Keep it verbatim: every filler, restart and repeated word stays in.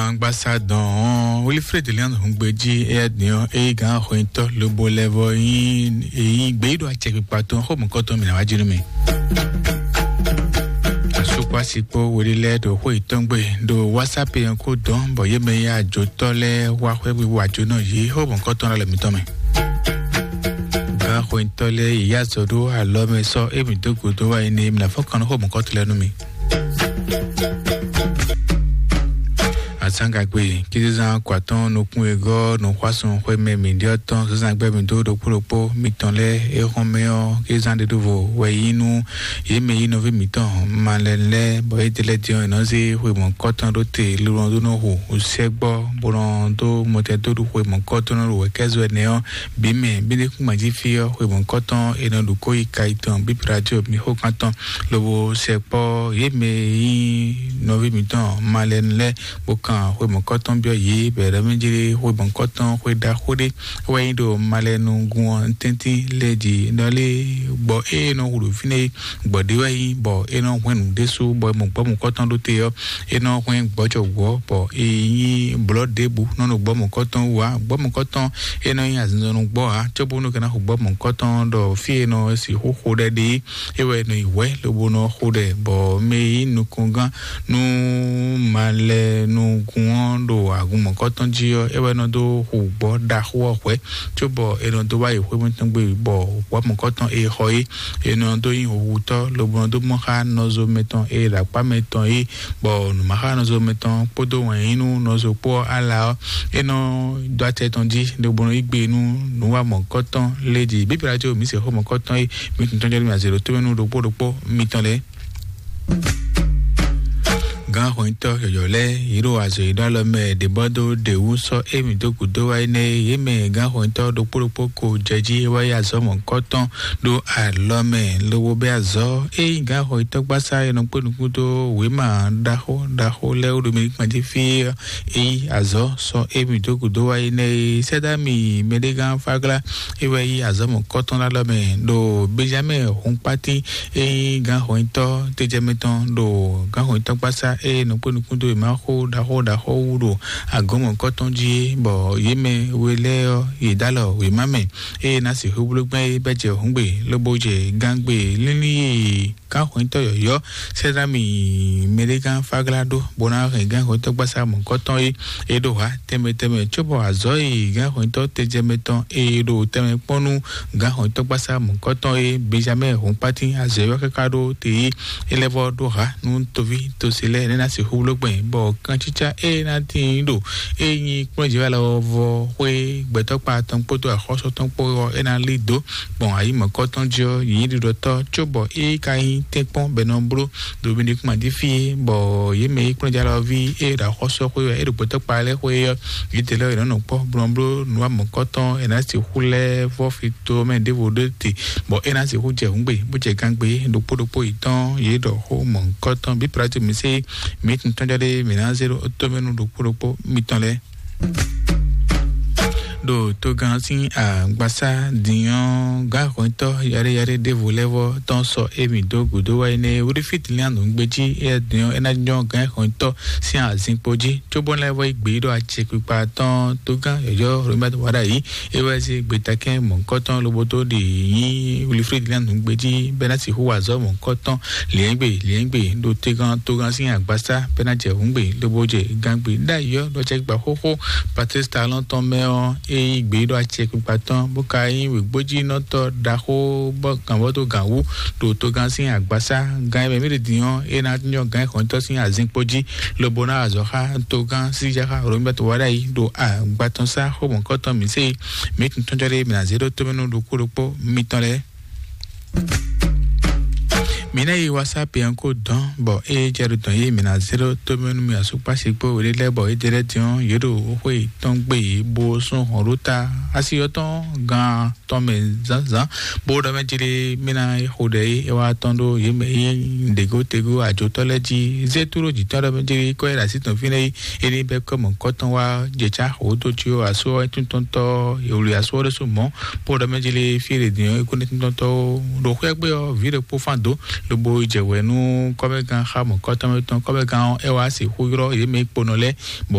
Angbasa dɔn Wilfred Leon Hungbeji, eya din ɔ, eyi gan xɔnyitɔ lobo lɛvɔ yin eyi gbe yi ɖo acɛkpikpa tɔn xɔ mɔkɔtɔ mi na wá jinu mi. Sukpasi kpo wele lɛ ɖo xɔ yitɔn gbe ɖo WhatsApp yɛn ko dɔn bɔ ye mɛ ya jotɔ lɛ wá xwɛ wiwa jo nɔ yi xɔ mɔkɔtɔ na le mitɔn mɛ. Gan xɔnyitɔ lɛ yi ya zɔ ɖo alɔ mɛ sɔ emi dó godo wa yi ne mi na fɔ kan xɔ mɔkɔtɔ lɛ nu mi. Azangagbe kizizan kwatɔn nukun egɔ nukwasun xwemɛ mi ɖiɔ tɔn zazan gbɛ mi do ɖokpó ɖokpó mitɔn lɛ exɔn mɛ ɔ kizan ɖe ɖovo wɛ yi nu ye mɛ yi nɔvi mitɔn malɛ lɛ bɔ e dele diɔ nɔ zi xwe mɔ kɔtɔn ɖo te lulɔ do nɔ hu sɛgbɔ bɔ nɔ do mɔtɛ do ɖu xwe mɔ kɔtɔn nɔ ɖu wɛ kɛzɔ ɛnɛ ɔ bi mɛ bi ne kún gbanji fi ɔ xwe mɔ kɔtɔn e nɔ ɖu ko yi ka yi tɔn bi radio mi xo kan tɔn lobo sɛkpɔ ye mɛ yi nɔvi mitɔn malɛ lɛ bó kan xwe mɔ̌kɔtɔn byɔ́ yě bɔ è ɖɔ mɛ jlé xwe mɔ̌kɔtɔn xwe ɖaxó ɖé wɛ nyi ɖo malɛnugun ɔ́ tɛ́ntin lɛ́ɛ jí nɔ lé gbɔ ée nɔ hu ɖo fínɛ́ é gbɔ ɖé wɛ nyi bɔ é nɔ hwɛn nǔ ɖésú bɔ mɔ gbɔ mɔ̌kɔtɔn ɖó te ɔ́ é nɔ hwɛn gbɔjɔ wǔ ɔ́ bɔ é nyí blɔ̌ ɖěbǔ nɔ ɖo gbɔ mɔ̌kɔtɔn wú ǎ. Gbɔ mɔ̌kɔtɔn é nɔ nyí azinzɔnnɔ gbɔ ǎ cóbónú kɛ ná hu gbɔ mɔ̌kɔtɔn ɖɔ fí e nɔ sixú xo ɖɛ ɖe é wɛ nɔ yi hwɛ̌ lobo nɔ xo ɖɛ bɔ mɛ e nyí nukɔngán nú malɛnugun ɔ́ ɖo agun mɔ̌kɔtɔn jí ɔ́, é wɛ nɔ dó hu gbɔ̌ ɖaxó ɔ́ hwɛ̌, cóbɔ è nɔ dó wá yi xwé mǐtɔn gbe bɔ gbɔ̌ mɔ̌kɔtɔn e xɔ é, è nɔ dó nyí huhutɔ́, lobo nɔ dó mɔ xá nɔzo mɛtɔn e ɖo akpá mɛtɔn é, bɔ nǔmaxánɔzo mɛtɔn kpódó wɛn yí nú nɔzo kpó ɔ́ ala ɔ́, é nɔ dó acɛ tɔn jí, lobo nɔ yí gbe nú nǔwa mɔ̌kɔtɔn lé jí. Bíbélà jí omi se xó mɔ̌kɔtɔn é, mi tún tɔn jɔ nú mi azě ɖo tó mɛ nú ɖokpó ɖokpó mitɔn lɛ́ɛ. Gǎn hwɛntɔ́ yɔ̌yɔ́ lɛ́ɛ yě ɖo azɔ̌ yě ɖó alɔ mɛ ɖě bɔ dó ɖě wú sɔ́ émí dó gǔdo wá énɛ́ é. Yě mɛ gǎn hwɛntɔ́ ɖokpó ɖokpó ko jɛ jí é wá yí azɔ̌ mɔ̌hunkɔtɔn ɖó alɔ mɛ lobo bɛ́ azɔ̌. Ényí gǎn hwɛntɔ́ gbásá e nɔ kpé nukún dó wěma ɖaxó ɖaxó lɛ́ɛ wú ɖo mɛ kpan jí fí ɔ́, é yí azɔ̌ sɔ́ émí dó gǔdo wá énɛ́ é. Sɛ́dámi mɛɖégán Fáglá é wɛ yí azɔ̌ mɔ̌hunkɔtɔn ɖó alɔ mɛ ɖo Benjamɛ́ɛ hunkpátín e nyí gǎnhɔnyitɔ́ tejɛmɛ tɔn ɖo gǎnhɔnyitɔ́ gbásá e nɔ kpé nukún dó wěma xó ɖaxó ɖaxó wú ɖo agɔ̌n mɔ̌hunkɔtɔn jí é, bɔ yě mɛ we lɛ́ɛ ɔ́, yě dó alɔ wěma mɛ eye ná sixú bló gbɛn é bɛ́ jɛ hǔngbe lobo jɛ gangbe línlín e gǎnhɔnyitɔ́ yɔ̌yɔ́ Sɛ́dámi mɛɖégán Fáglá ɖó bó ná hɛn gǎnhɔnyitɔ́ gbásá mɔ̌hunkɔtɔn é. É ɖo hǎ tɛnmɛ tɛnmɛ cóbɔ azɔ̌ e gǎnhɔnyitɔ́ tejɛmɛ tɔn e ɖo tɛnmɛ kpɔ́n nú gǎnhɔnyitɔ́ gbásá mɔ̌hunkɔtɔn e Benjamɛ́ɛ hunkpátín azɔ̌ ɔ́ káká ɖó te é. É lɛ́ vɔ́ ɖó hǎ nú toví tosi lɛ́ɛ nɛ́ ná sixú bló gbɛn, bɔ kancícá e ná tíin ɖo e nyí kplɔ́njǐwálɔ ɔ́ vɔ xwé gbɛtɔ́kpa tɔn kpódó axɔ́sú tɔn kpó ɔ́, é ná lí dǒ gbɔn ayǐ mɔ̌kɔ́tɔn jí ɔ́, yǐnyíɖiɖɔtɔ́ cóbɔ é ka nyí tɛ́nkpɔ́n bɔ è nɔ bló ɖo Benjamín jí fí, bɔ yě mɛ e kplɔ́njálɔví e ɖo axɔ́sú ɔ́ xwé wɛ é ɖo gbɛtɔ́kpa lɛ́ɛ xwé ɔ́, yědɛɛ lɛ́ɛ è nɔ nɔ kpɔ́ blɔbló nǔ wa mɔ̌kɔ́tɔn è nǎ sixú lɛ́ vɔ́ fi to mɛ ɖěvo ɖó te, bɔ é ná sixú jɛ hǔngbe bó jɛ gangbe ɖokpó ɖokpó yětɔn yě ɖɔ xó mɔ̌kɔ́tɔn bí Pilátu mi sé mǐ tɔn jɔ ɖé mǐ ná zé ɖó tómɛnu ɖokpó ɖokpó mitɔn lɛ́ɛ. Ɖo togán sín agbasá din ɔ́, gǎnhwɛntɔ́ yaɖéyaɖé ɖěvo lɛ́ɛ vɔ́ tɔn sɔ émí dó gǔdo wá énɛ́. Wlífítlín nǔgbé jí éyɛ́ din ɔ́, é ná nyɔ́ gǎnhwɛntɔ́ sín azinkpo jí, cóbó lɛ́ vɔ́ yi gbě ɖo acɛkpikpa tɔn. Togán yɔ̌yɔ́ Robert Wada yí é wɛ zé gbetakɛ́n mɔ̌hunkɔtɔn lobo dó ɖi nyí Wlífítlín nǔgbé jí bɛ́ ná sixú wa azɔ̌ mɔ̌hunkɔtɔn liɛ̌ngbe liɛ̌ngbe ɖo togán togán sín agbasá bɛ́ ná jɛ hǔngbe lobo jɛ gangbe ɖ'ayǐ ɔ́ ɖo acɛkpikpa xóxó Patrice Talon tɔn mɛ ɔ́, é yí gbě ɖo acɛkpikpa tɔn, bó ka nyí wěgbójínɔtɔ́ ɖaxó bɔ gǎnvɔ́ dó gǎn wú ɖo togán sín agbasá. Gǎn e mɛ mǐ ɖe din ɔ́, é ná nyɔ́ gǎn e xɔ́ntɔ́ sín azinkpo jí, lobo ná wa azɔ̌ xá togán síjáxá Robert Wada yí ɖo agbatɔnsá xó mɔ̌kɔtɔn mǐ sé mǐ tun tɔ́njɔ́ ɖé mǐ ná zé ɖó tómɛnu ɖokpó ɖokpó mitɔn lɛ́ɛ. Mǐ ná yi WhatsApp yɛn kó dɔn bɔ ée jɛ ɖo dɔn yé mǐ ná zé ɖó tómɛnu mi asukpasi kpó wěɖé lɛ́ɛ bɔ é jɛ lɛ́ din ɔ́, yě ɖo xwé tɔn gbe yě bó sún hɔn ɖó ta asi ɔ́ tɔn gán tɔn mɛ zǎnzǎn, bó ɖɔ mɛ jlé mí ná xo ɖɛ é é wá tɔn ɖó yě mɛ é ɖěgó tegó ajotɔ́ lɛ́ɛ jí. Zé tló jǐtɔ́ ɖɔ mɛ jlé kɔ́ é ɖo así tɔn fínɛ́ é é ní bɛ́ kɔ́ mɔ̌hunkɔtɔn wá jɛ cá xǒ dó cí ɔ́ asú ɔ́ é tún tɔn tɔ́ è wlí asú ɔ́ ɖésú mɔ̌. Bó ɖɔ mɛ jlé fí e ɖě din ɔ́ é kó ní tún tɔn tɔ́ ó. Ɖo xwé gbe ɔ́, vǐ ɖokpó fán dó lobo jɛ wɛ nú kɔ́mɛgán xá mɔ̌hunkɔtɔn mɛ tɔn. Kɔ́mɛgán ɔ́ é wá sixú ylɔ́ yě mɛ é kponɔ lɛ́ɛ bɔ